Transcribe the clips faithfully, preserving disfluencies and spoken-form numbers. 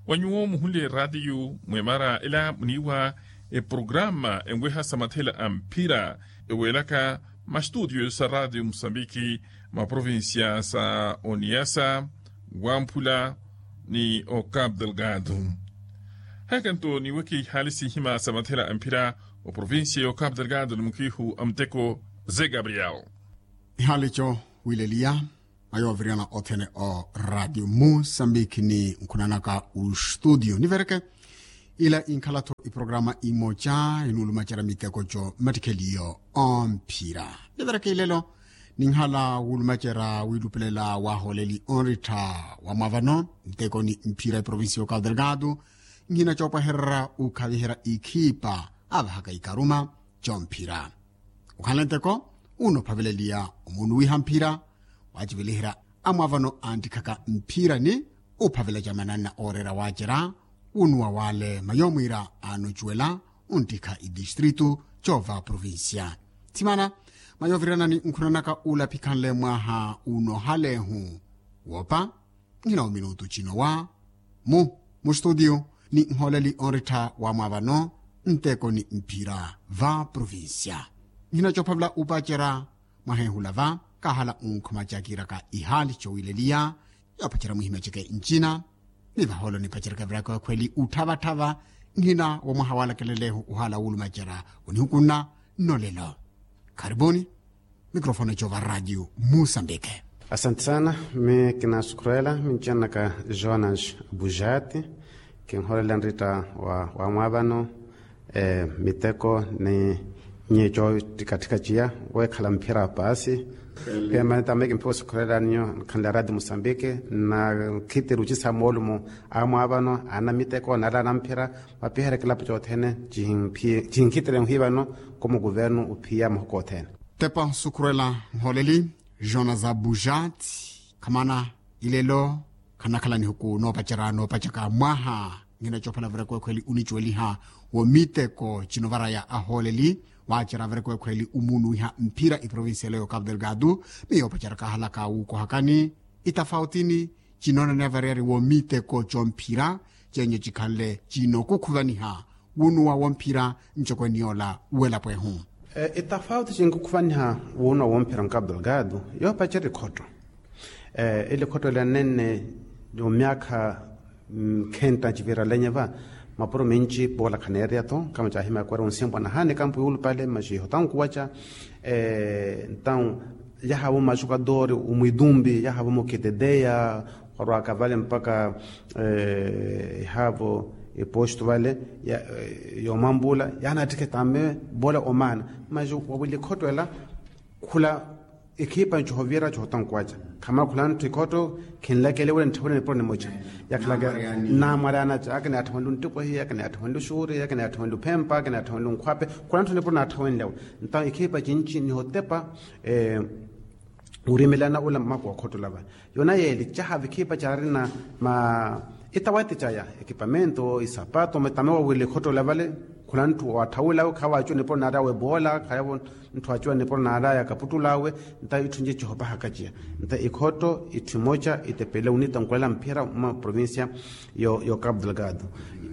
Wa nyuwo muhunle ratiyu mwemara ela muniiwa eprograma enweha sa mathela a mphira eweelaka mastutiyo sa ratiyu musambiki maprovincia sa oniyasa wamphula ni ocapu delgado. Haka nto niweke ihaali sihima sa mathela a mphira oprovincia y'ocapu delgado ni mukiihu a muteko ze gabriel. Ihaali co wileliya mayoviriyana othene o ratiyu musambiki ni nkhunanaka ustutiyo nivereke ila inkhala-tho iprograma imoca inuulumacerya miteko co mmattikheliyo omphira. Nivereke ilelo ninhala wulumacerya wilupelela wahooleli onrittha wa mwavano nteko ni mphira eprovincia y'ocapu delgado. Nhina coopwahererya ukhaviherya ikhipa avahaka ikaruma comphira. Okhanle nteko unophaveleliya omunuwiha mphira waciveliherya amwavano anttikhaka mphira ni uphavela camananna ooreera wacerya wunuwa wale mayo mwiira anocuwela unttikha itistritu coova provincia. Thimana mayo viranani nkhunanaka ulapikhanle mwaha unohalehu woopa. Nhina ominutu cino wa mu mustutiyo ni nhooleli onrittha wa mwa vano nteko ni mphira va provincia. Nhina coophavela upacerya mwaheehula va kahala unkhuma cakiraka ihaali cowileliya yoopacerya mwihimya ceke ncina ni vahoolo nipacerya kaviraka wekhweli utthavathava. Nhina womwaha walakelelehu uhaala wulumacerya onihukunna nnolelo. Kharipuni mikrofone cova radio musambike. Asante sana. Mi kinasukhurela mincenaka jonas bujati kinholela nrita wa wamwavano miteko ni nyico ttikattika ciya wekhala mphira pasi. Pia manita mi kimphiwa sukhurela ninyo nkhanle radio musambike na khitiri ucisa moolumo amwavano ana miteko nala ana mphira mapiherya kilapu cothene. Cihinkhitire nhwi vano kumukuvernu uphiya mahuku othene. Tepa nsukhurela nholeli jona za bujat khamana ilelo khanakhala nihuku noopacerya noopacaka mwaha. Nhina coophala vira kwekhweli unicuweliha wo miteko cinovaraya ahooleli waacerya vira kwekhweli umunuwiha mphira iprovincia ela yo capu delgado. Ni yoopacerya kahalaka wuukohakani itafautini cinoonaniya variyari wo miteko comphira cenyo cikhanle cinokukhuvaniha wunuwa womphira ncokweni yoola welapwehu. Itafauti cinkukhuvaniha wunuwa womphira nkapu delgado yoopacerya ikhotto. Ili khotto ela nenne omyaakha khenta civirala enye va mapuro minci poola khaneereya-tho kama caahimya kwera onsimpwa nahaani kampu yuulupale maxi ihotankuwaca. Ntau yahaavo maxukadori omwitumbi yahaavo mukiteteya warwaka vale mpaka ihaavo ipostu vale yoomwampula yaanattikhe tame vole omaana. Maxi wawili khotto ela khula ikhipa ncohovira cohotankuwaca khamala khula ntthu ikhotto khinlakele wira ntthiwene nipuro nimoca yakhalaka namwareyana ca akinaatthawenle onttipohi akinaatthawenle oxuuri akinaatthawenle ophempa akinaatthawenle onkhwape khula ntthu nipuro naatthawenlewe. Ntawo ikhipa cinci nihotepa urimelana ula mmaku wa khottola vale yona yeeli caha vikhipa carina ma itawati caya ekipamento isapato tame wawili khottola vale khula ntthu waatthawilawe khawacuwa nipuro naarawe boola khayavo ntthu acuwa nipuro naaraya kaputtulawe. Nta itthu nci cihopahaka ciya nta ikhotto itthu imoca itepele onitankulela mphira mwa provincia yo capu delgado.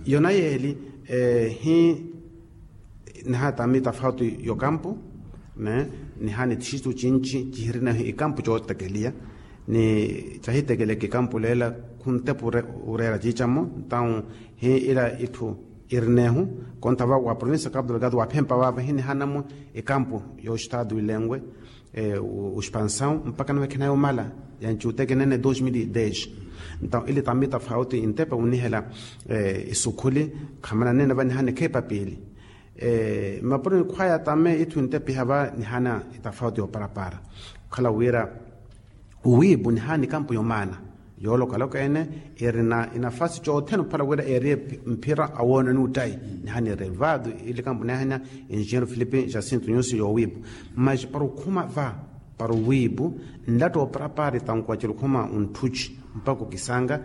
Yona yeeli hi nihaana tami tafauti yokampu nihaana ithixitu cinci cihirinahu ikampu cootekeliya ni cahitekeleke ikampu leela khuntepa ureera ciicamo. Ntawu hi ila itthu irinehu konta va wa provincia capu delgado waphempa vava hi nihaanamu ikampu yoxitaatu ilenwe oxpansawu mpaka nawekhena yomala yanci utekenene dos mil e dez. Ntawu ili tami tafauti intepa unihela isukhuli khamana nene va nihaana ikhepa piili mapuro nikhwaya tame itthu intepiha va nihaana itafauti yooparapara okhala wira owiipu nihaana ikampu yomaana yoolokaloka ene irina inafasi cothene ophala wira eeriye mphira awoononi uttayi nihaana irevado ili kampu nihaana enjinheiro filipe jacinto nyusi yoowiipu. Mas para okhuma va para owiipu nlatta ooparapara itankuwa cela okhuma ontthuci mpaka okisanga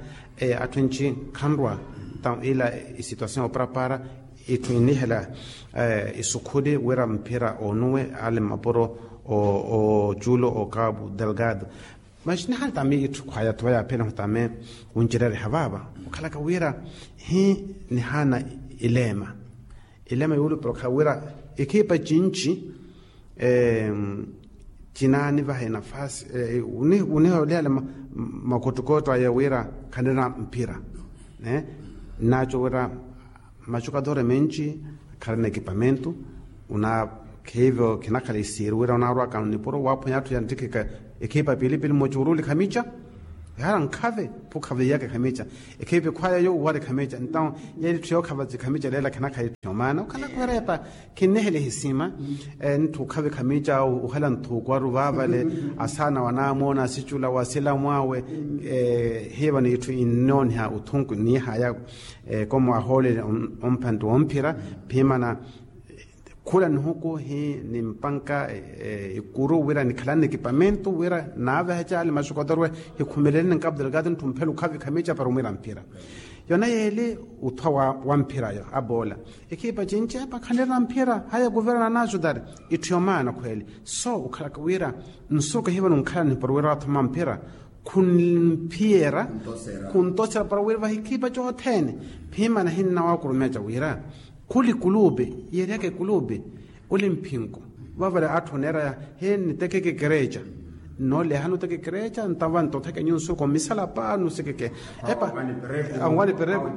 atthu enci khanrwa. Ntawu ila isituasion yooparapara itthu inihela isukhuli wira mphira oonuwe ale mmapuro ocuulo o capu delgado. Maxi nihaana tame itthu khwaya thuwa yaaphela hutame. Wuncerereha vaava okhalaka wira hi nihaana ileema ileema yuulupela okhala wira ikhipa cinci cinaanivaha enafasi wuniholeyale makottokootto aya wira khanira mphira nnaco wira macukadoore menci kharina ekipamentu. Una khiivo khinakhala isiiri wira unarwaka nipuro waaphwanya atthu yantthikheka ekhipa pilipili mmocuruuli khamica. Ehara nkhave phukhaveiyaka khamica ekhipa ekhwaya yo uwari khamica ntawo yeelitthu yookhava cikhamica leela khinakhala itthu yomaana okhalaka werepa. Khinnihela ehisima ntthu okhavi khamica uhela nthuuku aru vaavale asaana wanamoona asicula wasilamu awe. Hiiva n'itthu innooniha uthunku niihaya komo ahoolele omphantti womphira phimana khula nihuku hi nimpanka ikuru wira nikhalani ekipamentu wira naaveha caali maxukotorwe hikhumeleleni nkaputelo kati ntthu mphela okhavi khamica para omwira mphira. Yona yeeli uthwa wa mphirayo aboola ekhipa cinci epa khanirina mphira haya kuverno anaaxutari. Itthu yomaana khweeli so okhalaka wira nsuku ehiva nunkhalani para wira wathoma mphira khunphiyera khuntosera para wira vahikhipa cothene. Phimana hinnawakurumeca wira khuli kulupe yeeryaka ekulupe oli mphinko vavale atthu oneeraya he nnitekeke ekereca. Nnooleha nuteka ekereca ntava ntotheke nyunsuko mmisalapa nusikeke epa anwani pereku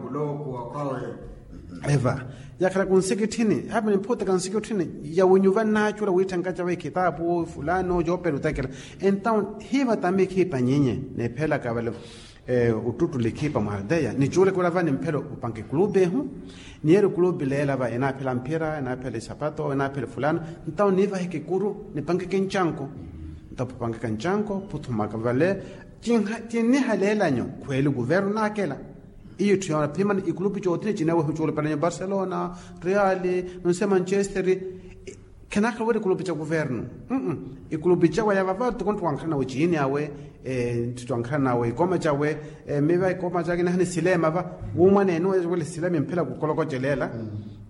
eva yakhala kunsikitthini hape niphuteka nsikitthini yawinyuva nnaacula wiitthenkaca va ekhitapu fulano yoopela otekela. Entawo hiiva tami ekhipa nyinyi neephelaka vale ottuttula ekhipa mwa aldeya nicuuleke wira va nimphela opanka ekulupe ehu. Niyeeri ekulupe leela va enaaphela mphira enaaphela isapato enaaphela efulano ntawo niivaheke ekuru nipankeke ncanko. Ntawo phupankeka ncanko phuthumaka vale cinniha leelanyo khweeli kuverno naakela. Iyo itthu yoona phimana ikulupe cothene cineewa ehucuula paranyo barcelona reali nonse manchester khenakhala wira ikulupe ca kuverno ikulupe cawe yava va tikontto wankhala nawe ciini awe ntthitto wankhala nawe ikoma cawe miva ikoma cake nahani silema va wumwanene wele silema emphela kukolokocelela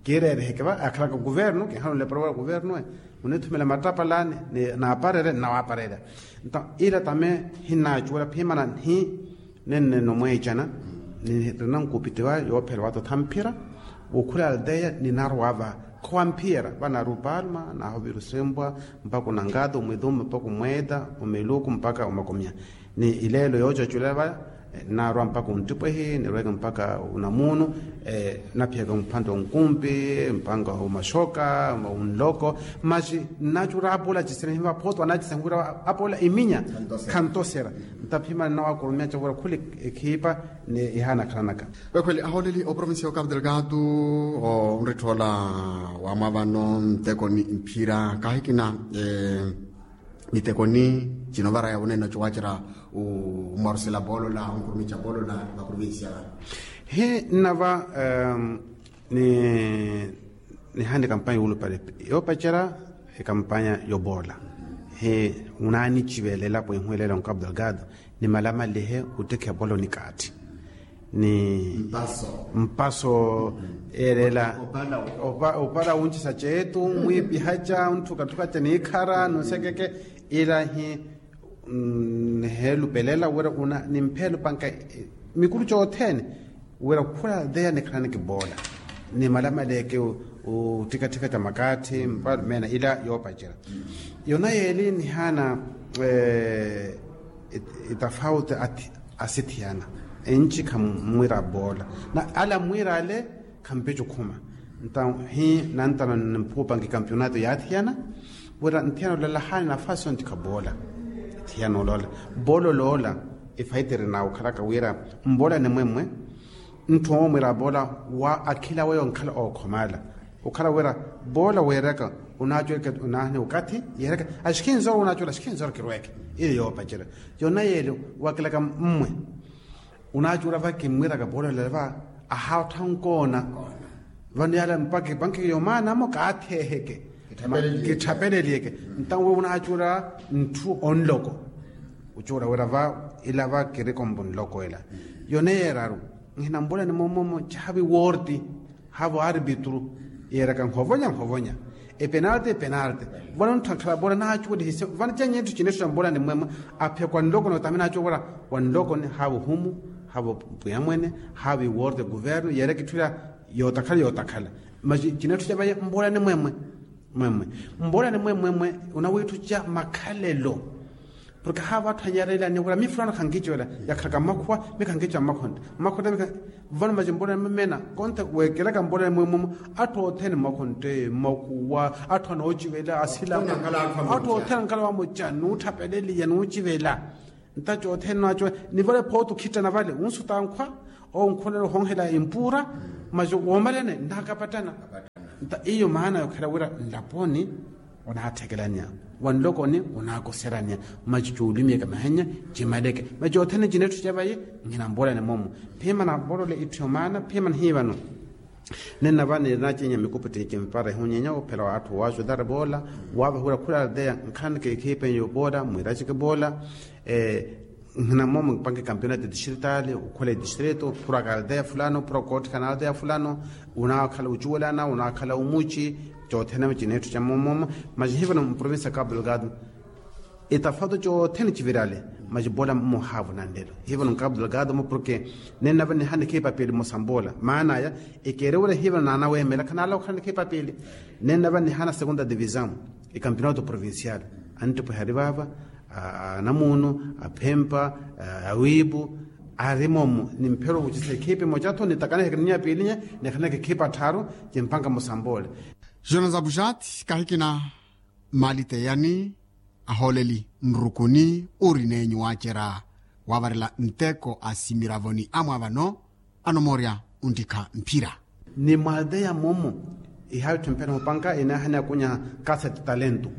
kiireeriheke va akhalaka kuverno kinhala onlepela wira kuverno e munithumela mattapalani naaparere nnawaaparerya. Nto ila tame hinnaacuwela phimana nhi nenneno mweecana nirina nkupittiwa yoophela watotha mphira wukhula aldeya ninarwa va khowamphiyera vanaari opalma nahovira osempwa mpaka onangata omwithumba mpaka omweeta omeluku mpaka omakomya. Ni ileelo yoocaculela vaya nnaarwa mpaka onttipwehi nirweke mpaka onamuunu naphiyaka mphantte onkumpi mpaka omaxoka onloko. Maxi nnaacura apola cisena hiva phooto anaacisena wira apola iminya khantosera ntaphimana nnawakurumeca wira khuli ekhipa ni ihaana akhalanaka. Wekhweli ahooleli oprovincia ya okapu delgado onritthoola wamwa vano ntekoni mphira kahikina mitekoni cinovaraya wunene ocuwacerya omwarusela poolola onkurumica poolola vakurumincia vano. Hi nnava ni nihaana ekampanya yuulupale yoopacerya ekampanya yopoola hi wunaanicivelela pwehu eleela onkapu delgado nimalamalihe ottekheya poola onikaathi ni mpaso ereela opala wuncisa ceetu mwiipihaca ontthukatthukaca niikhara nonsekeke ila hi niheelupelela wira una nimpheelupanka mikuru cothene wira khula theya nikhalani kipoola nimalamaleeke ottikatthika ta makaathi mpala meena ila yoopacerya. Yona yeeli nihaana itafauti asithiyana enci khammwiira poola na ala mmwiira ale khampeca okhuma. Nto hi nantano niphuupanka ekampionato yaathiyana wira nthiyana olalahaani nafasi ontikha poola. Thiyana olola poola oloola efaitiri nawe okhalaka wira mpoola nimwemmwe ntthu omwiira poola wa akhila weyo onkhala ookhomala okhala wira poola weeraka onaacula onaahani okathi yeeraka axikhinzoro onaacula axikhinzoro kirweke ili yoopacerya. Yona yeeli wakilaka mmwe onaacula va kimmwiraka poola olala va ahaattha onkoona vano yala mpakha epankheke yomaanamo kaatheeheke kitthapeleliyeke. Ntawe onaacula ntthu onloko ocuula wira va ila va kirikompo nloko ela yone yeeraru nhina mpoolani moomoomo caavi woorti haavo aaripitru yeeraka nhovonya nhovonya Epenalti epenalti. Vano nthu ankhala bola naacuwelihisye vano cennye etthu cinetthu ca mbola ni mmwemwe. Aphekwa nlokoni otame naacuwela bola, wa nlokoni haavo humu, haavo pwiyamwene, haavo iworo de kuvernu yeera kitthu ila yootakhala yootakhala. Masi cinetthu ca vaye mbola ni mmwemwe. Mmwemwe mbola ni mmwemwe. Onawiitthu ca makhalelo. Porke haavo atthu anyarelani wira mi fulano khankicuwela, yakhalaka mmakhuwa mi khankicuwa mmakhontte mmakhontte. Vano macimpolani mmeena konte weekelaka mpolani mwemumu. Atthu othene mmakhontte mmakhuwa, atthu anoocivela asila, atthu othene ankhala vamoca nuutthapeleliya nuucivela. Nta cothene naaco nivale phooto khittana vale wunsuta nkhwa. Onkhonela ohonhela empuura. Maci woomalene nnaakapattana. Nta iyo maana yookhela wira nlaponi onaatthekelaniya, wa nlokoni onaakuseraniya. Maci coolumiyeke mahenya cimaleke maci othene cinetthu ca vaye. Nhina mboolani moomo. Phiimana mboolole itthu yomaana phiimana hiivano. Nenna vani nacinya mikupitti cimpara ehunyenya ophela wa atthu waajudari voola. Waavahiwira khula aldeya nkhanike ekhiipenyo voola mwiraceke voola. Nhina moomo mpanke campeonato distritali okhula edistrito phuraka aldeya fulano phuraka ootthikana aldeya fulano. Unaakhala ocuwelana unaakhala omuci. Cothene cinetthu ca moomoomo. Maci hivano mprovinsi ya cabo delgado. Etafato cothene civirale. Maci bola mmohaavo nanlelo hivano cabo delgado mo porke nenna vanihana ekhipa piili mosa mbola maana aya. Ekeerewela hivano naanaweemela khanaala okhala ni ekhipa piili. Nenna vanihana segunda divisao ekampeonato provincial. Anttipwehe ari vaava anamuunu aphempa awiipu. Ari moomo nimphero wucisa ekhipa emoca-tho nitakaneheke ni nyapiilinya. Nikaneheke ekhipa tthaaru. Cimpanka mosa mboole. Jonas abuxati kahikina maliteyani ahooleli nrukuni uri neenyu waacerya waavarela nteko a simiravoni amwaavano anomoorya. Onttikha mphira ni mwalteya moomo. Ihaavi tthumphene mupanka inaahani akunyaha kasete talento.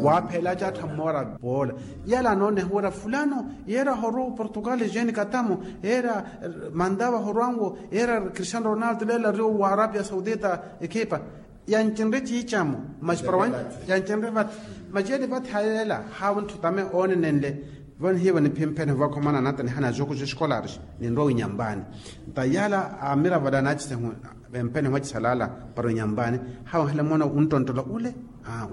Waaphela acattha mmoora poola yala anooneha wira fulano yeera ahorwa oportugal jeni katamo yeera mantava ahorwanwo yeera cristiano ronaldo leela ariwo wa arabia saudita ekhipa. Yancinre ciicamo. Masi para yancinre vati. Masi yeeli vati hayeela haawo ntthu tame oonenenle. Vanihiivo niphimphene vwakhomana nata nihana jogo joskolari ninrowa winyambani. Nta yaala amiravo ala anaacisehu vempene hwacisalaala para winyambani. Haawo nhale mwana unttonttola ule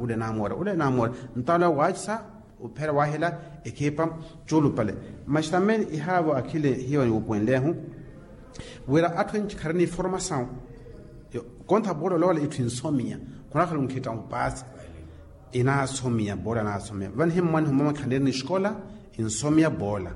ule namoora ule namoora. Nta ule waacisa uphera waahela ekhipa. Cuulupale masi tame ihaavo akhile hiivo niwupuwenlehu wira atthu enci kharina informasawu. Kontha bola olowala itthu insomiya khunakhala onkhitta ompaasi. Inaasomiya bola anaasomiya vanihimmwaniho mama khanirina escola insomiya bola.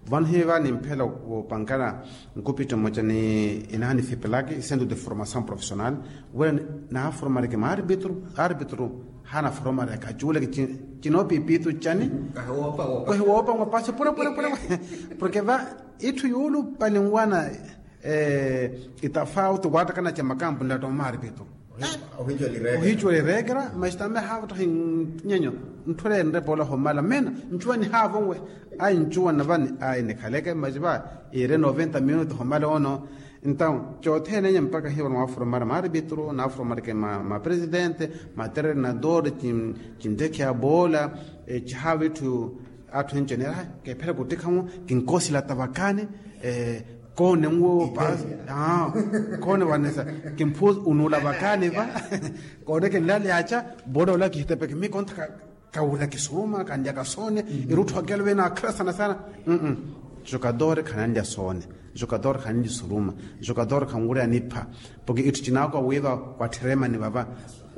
Vanihiva nimphela wopankana nkupitto mmoca ni inaha nifipelaki centro de formação profissional wira naaformareke maarbitro. Arbitro hanaformareke acuuleke cinoopipitu cani. Kahiwoopa nwa paasi pura pura pura. Porke va itthu yuulupali nwana itafauti waattakana ca makampu nlatta omaaripito. Ohicuwela ireekera masi tame haavottahi nyenyo ntthu ela enrepa ola homala meena. Ncuwa nihaavo nwe ai ncuwa navani ai nikhaleke masi va iire noventa minutu homala ono. Entaw cothene enya mpakha hiivo nwaaforomara maaripito naaforomara mapresidente matreinador cintekheya boola. Cihaavo itthu atthu encenera kephera kuttikha-mo kinkoosilata vakani. Koone nwo paasi koone vanesa kimphuusi unuula vakani va. Koone kinlaleyaca bola ola kihitepeke mikontha kawula kisuruma kanlyaka soone irutthu akelo vene akhala sana sana. Jokatore khananlya soone jokatore khananlya isuruma jokatore khanwuleya nipha. Porke itthu cinaakowa wiiva kwatthiremani vava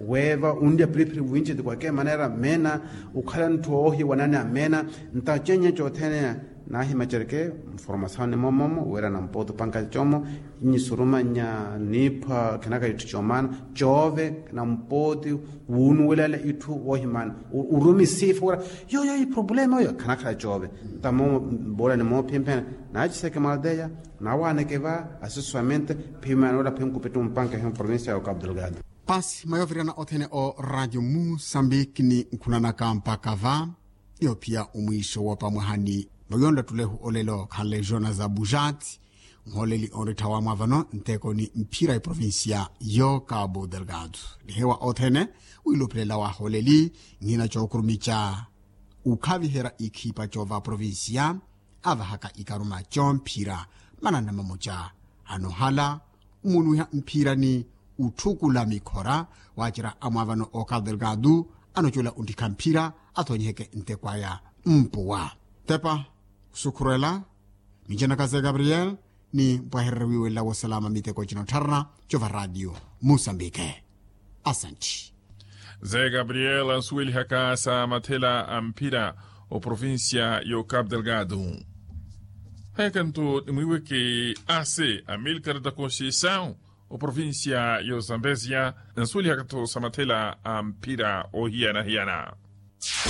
weeva unlya piriphiri winci ti kwake manera meena ukhala ntthu oohiwanani a meena. Nta cenye cothene naahimacereke mformasawo ni moomoomo wira nampooti opanka coomo nyisuruma nya niipha khinaka itthu coomaana coove nampooti wuunuwelela itthu woohimaana. Urumi siifa wira yoyo iproblema oyo khanakhala coove. Nta moomo mboolani moophimphene naaciseke mwalteya nawaaneke va aseswamente. Phimana wira phinkupittu mpanka ehi mprovincia ya ocabo delgado. Pasi mayovirana othene o radio musambiki ni nkhunanaka mpaka va iyo phiya omwiixo woopa mwahani. Noyonla ttulehu olelo khanle jonas abujati nhooleli onrittha wamwaavano nteko ni mphira eprovincia yo cabo delgado. Nihewa othene wiilupelela wahooleli nhina cookurumica ukhaviherya ikhipa coova provincia avahaka ikaruma comphira mananna mamoca anohala omunuwiha mphira ni utthukula mikhora waacerya amwaavano okapu delgado anocola onttikha mphira athonyiheke nteko aya mpuwa tepa sukhurela minjanaka ze gabriel ni mpwahererya wiiwelela wosalama miteko cina ottharana cova radio musambike asantti. Ze gabriel ansuwelihaka sa mathela a mphira oprovincia y'ocapu delgado. Hekanto nimwiiweke ase amilkar da conceição oprovincia y'ozambezia nsuwelihaka-tho sa mathela a mphira oohiyana-hiyana.